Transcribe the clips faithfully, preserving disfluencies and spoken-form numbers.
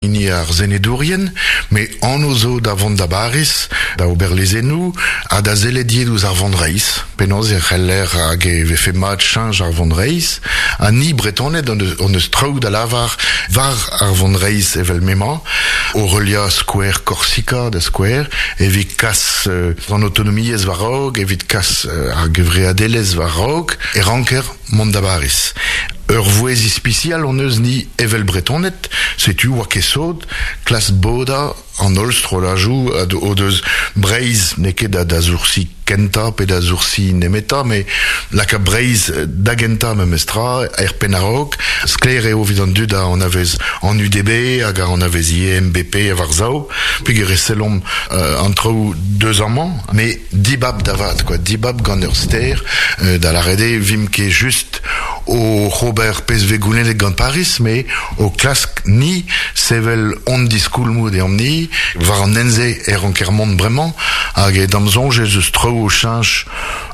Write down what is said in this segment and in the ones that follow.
Hini ar senedourien, met anv zo da vont da Bariz, da ober lezennoù, ha da sellet ivez ouzh ar vonreizh. Penaos e c'heller hag e vefe mat cheñch ar vonreizh. Ha ni Bretoned hon eus, hon eus traoù da lavar war ar vonreizh evel m'emañ, o heuliañ skouer Korsika da skouer, evit kas euh, an autonomiezh war-raok, evit kas euh, ar gevreadelezh war-raok, e ranker mont da Bariz. Ur vouezh ispisial hon eus ni evel Bretoned, setu oa ket sot, klask bodañ an holl strolladoù o deus Breizh n'eo ket da, da soursi kentañ pe da soursi nemetañ, met laka Breizh da gentañ memestra, er penn a-raok, sklaer eo evit an dud a anavez an U D B hag a anavez ivez M B P war-sav, peogwir e sellomp euh, an traoù deus amañ, met dibab da vat, quoi, dibab gant ur ster, euh, da lâret eo vimp ket just o ober pezh vez goulennet gant Paris, met o klask ni sevel hon diskoulmoù deomp-ni, war an hent-se e ranker mont bremañ, hag e d'am soñj ez eus traoù o cheñch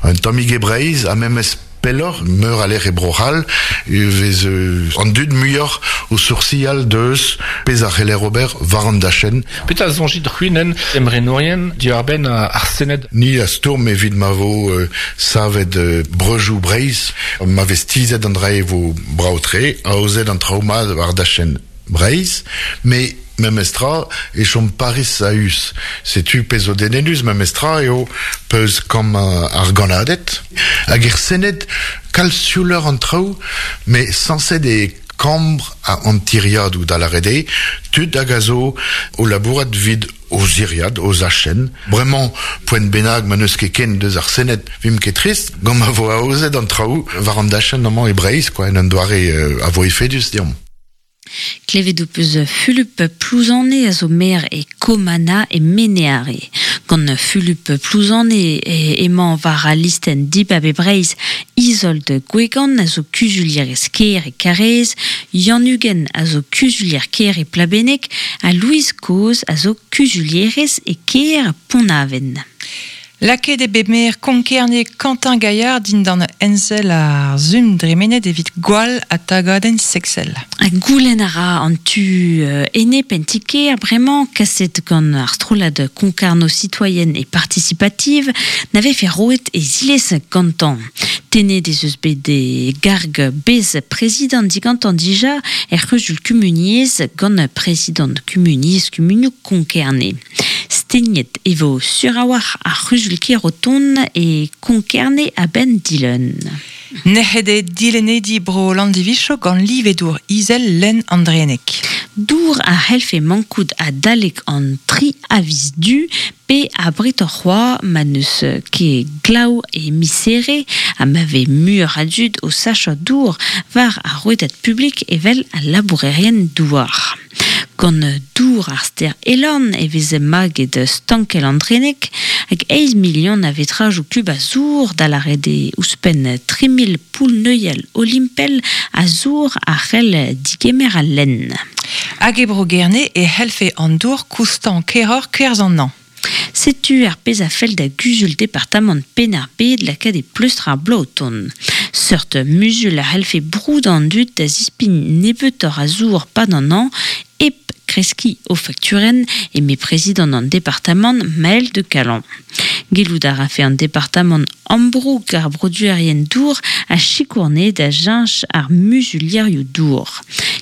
un tammig e Breizh, ha memes pelloc'h, meur a lec'h e Bro-C'hall, e vez euh, an dud muioc'h o soursial deus pezh a c'heller ober war an dachenn. Petra soñjit c'hwi emrenourien diwar-benn ar Sened? Ni a stourm evit ma vo euh, savet euh, breujoù Breizh, ma vez tizhet an dra e vo brav-tre, aozet an traoù mat war dachenn Breizh, met memestra e chom Paris a-us. Setu pezh zo dedennus memestra eo peus kambr ar gannaded. Hag er Sened kalz siouloc'h an traoù, met sañset e kambr an tiriadoù da lâret eo, tud hag a zo o labourat 'vit o ziriad, o zachenn. Bremañ, poent bennak ma n'eus ket ken deus ar Sened, vimp ket trist, gant ma vo aozet an traoù war an dachenn amañ e Breizh, quoi, en un doare euh, a vo efedus deomp. Klevet ho peus Fulup Plouzane a zo maer e Komana e Mene-Are. Gant Fulup Plouzane emañ war al listenn Dibab e Breizh Izold Gwegan a zo kuzulierez kêr e Karaez, Yann Uguen a zo kuzulier kêr e Plabenneg ha Louise Coz a zo kuzulierez e kêr Pont-Aven. Lakaet eo bet maer Konkerne Quentin Gaillard dindan ensell ar sizhun dremenet evit gwall ha tagadenn seksel. Ha goulenn a ra an tu enep en ti-kêr bremañ kaset gant ar strollad Concarneau citoyenne et participative na vefe roet e zilez gantañ. Tennet ez eus bet e garg bez-prezidant digantañ dija er c'huzul kumuniezh gant prezidant kumuniezh kumunioù Konkerne. Stegnet e vo sur a-walc'h ar c'huzul-kêr o tont e Konkerne a-benn dilun. Nec'het eo dilennidi bro Landivicho gant live dour izel lenn an Drenneg. Dour a c'hellfe mankout adalek an tri a viz Du pe abretoc'h c'hoazh ma n'eus ket glav e miz Here ha ma vez muioc'h a dud o sachañ dour war ar rouedad publik evel al labourerien douar. Gant dour ar stêr Elorn e vez maget stankell an Drenneg hag eizh milion a vetrajoù kub a zour da lâret eo ouzhpenn tri mil poull-neuial olimpel a zour a c'hell digemer al lenn. Hag e bro Gerne e c'hellfe an dour koustañ keroc'h kerzh an hañv. Setu ar pezh a fell da guzul departamant Penn-ar-Bed lakaat e pleustr ar bloaz o tont. Seurt muzul a c'hellfe broudañ an dud da zispign nebeutoc'h a zour 'pad an hañv hep kreskiñ o fakturenn eme prezidant an departamant Maël de Calan. Gellout a rafe an departamant ambroug ar broduerien dour ha sikour anezhe da cheñch ar muzulierioù dour.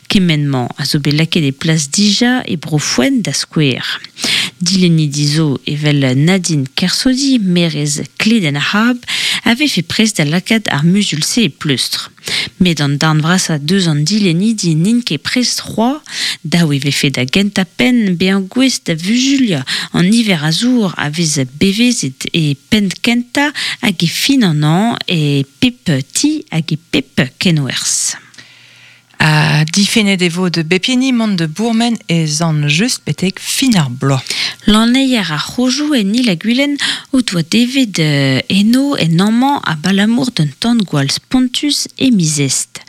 Kement-mañ a zo bet lakaet e plas dija e bro Fouen da skouer. Dilennidi zo evel Nadine Kersaudy, maerez Kledenn-ar-C'hab, a vefe prest da lakaat ar muzul-se e pleustr. Met an darn vrasañ deus an dilennidi n'int ket prest c'hoazh, dav e vefe da gentañ penn bezañ gouest da vuzuliañ an niver a zour a vez bevezet e penn kentañ hag e fin an hañv e pep ti hag e pep kenwerzh. Ha difennet e vo da bep hini mont da bourmen e Sant-Just betek fin ar bloaz. Lanneier ar C'hozioù en Il-ha-Gwilen o doa devet eno en hañv-mañ abalamour d'un tan-gwall spontus e miz Est.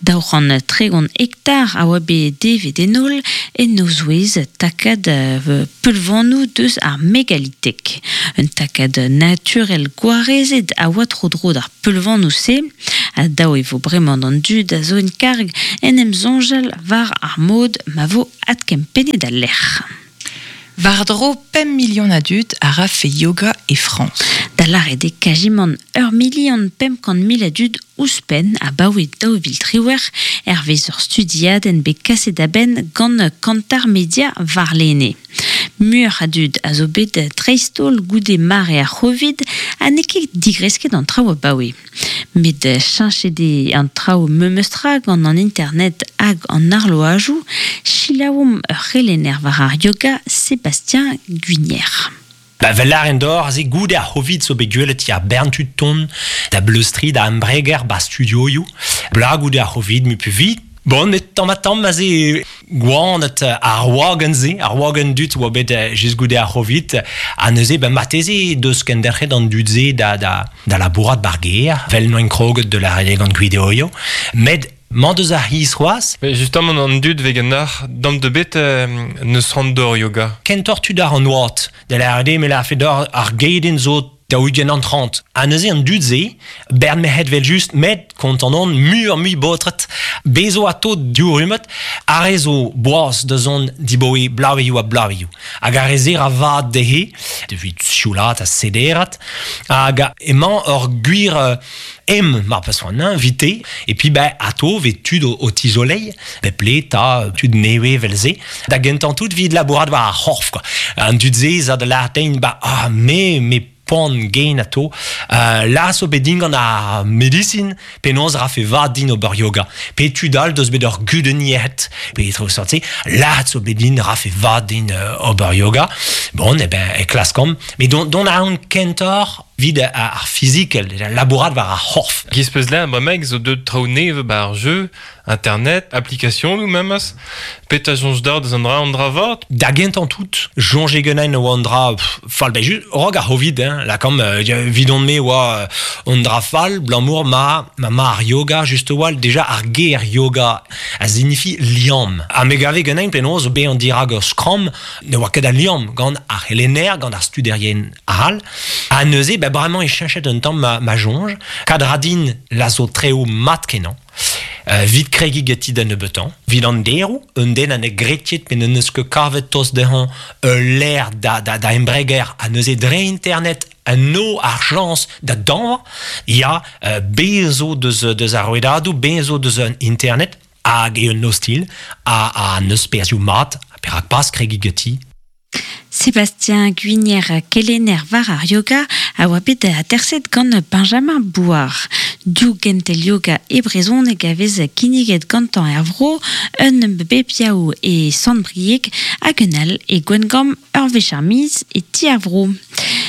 Daou c'hant tregont hektar a oa bet devet en holl en o zouez takad peulvanoù deus ar megalitek. Un takad naturel gwarezet a oa tro-dro d'ar peulvanoù-se. Ha dav e vo bremañ d'an dud a zo en karg en em soñjal war ar mod ma vo adkempennet al lec'h. War dro pemp milion a dud a rafe yoga e Frañs. Da lâret eo kazimant ur milion pemp kant mil a dud ouzhpenn abaoe daou vil triwec'h hervez ur studiadenn bet kaset a-benn gant Kantar Media warlene. Muioc'h a dud a zo bet dreist-holl goude mare ar C'hovid ha n'eo ket digresket an traoù abaoe. Met cheñchet eo an traoù memestra gant an internet hag an arloajoù, selaouomp ur c'helenner war ar yoga Sébastien Guinier. Ba, vel lâren deoc'h, aze goude ar C'hovid zo bet gwelet ya bern tud tont da bleustri da embreger ba studioioù. Bla goude ar C'hovid mu vit. Bon, met tamm ha tamm aze gwanet ar wagenn-se, ar wagenn dud oa bet just goude ar C'hovid, ha neuze ben marteze deus kenderc'het an dud-se da, da, da labourat bar gêr, vel noen kroget de la gant gwideoioù. Met Mañ deus ar c'hiz c'hoazh. Mais justement an dud vez ganeoc'h dam de bet euh, neus c'hoant d'ober yoga. Kentoc'h tud ar an oad. Da lâret eo me lârfe deoc'h ar gedenn zo daou-ugent an trant. Ha neuze an dud-se, bern merc'hed vel just, met kontant on muioc'h mui baotred. Bez zo ato div rummad, ar re zo boaz da zont dibaoe bloavezhioù ha bloavezhioù. Hag ar re-se ra vad dezhe, evit sioulaat ha sederat, hag emañ ur gwir em mar peus c'hoant, hein, vite. Et puis ben ato vez tud o, o tizoleiñ, bep le ta tud nevez vel-se. Da gentañ tout 'vit labourat war ar c'horf, quoi. An dud-se za da lâret din, ba ah me me poan gein ato, euh, la zo bet din gant ar medisin, penaos rafe vad din ober yoga. Pe tud all deus bet ur gudenn yec'hed, pe tro sorti, la zo bet din rafe vad din euh, ober yoga. Bon, eh ben, e klaskomp. Mais don, don a an kentoc'h 'vit ar fizikel, labourat war ar c'horf. Giz peus lâret bremaik zo deut traoù nevez ba ar jeu, internet, application ou memes, petra soñj deoc'h deus an dra an dra vat? Da gentañ tout, soñje ganin oa an dra pff, fall, ben just, rog ar C'hovid, hein, lakaomp, euh, 'vidon-me oa an dra fall, 'blamour ma, ma ma ar yoga, just a-walc'h, déjà ar ger yoga a signifi liamm. Ha me gave ganin penaos bezañ dirak ur skramm, ne oa ket a liamm gant ar c'helenner, gant ar studerien all. Ha neuze, ben bremañ e cheñchet un tamm ma, ma soñj, kad ra din la zo treo mat kenañ. Euh, 'vit kregiñ ganti da nebeutañ. 'Vit an deroù, un den a ne gretiet pe n'eus ket kavet tost dezhañ ul lec'h da, da, da embreger ha neuze dre internet an no ar chañs da dañva, ya, euh, bez zo deus, deus ar rouedadoù, bez zo deus an internet, hag eo un ostilh, ha, ha neus perzhioù mat, perak pas kregiñ ganti. Sébastien Guinier kelenner war ar yoga a oa bet aterset gant Benjamin Bouard. Div gentel yoga e brezhoneg a vez kinniget gantañ er vro, un bep yaou e Sant-Brieg hag un all e Gwengamp ur wech ar miz e ti ar vro.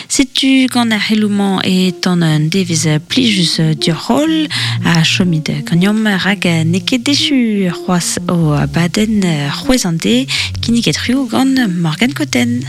Setu gant ar c'heloù-mañ e tan un devezh plijus deoc'h holl ha chomit ganeomp rak n'eo ket echu c'hoazh o abadenn c'hwezh an deiz kinniget c'hwi gant Morgane Cotten.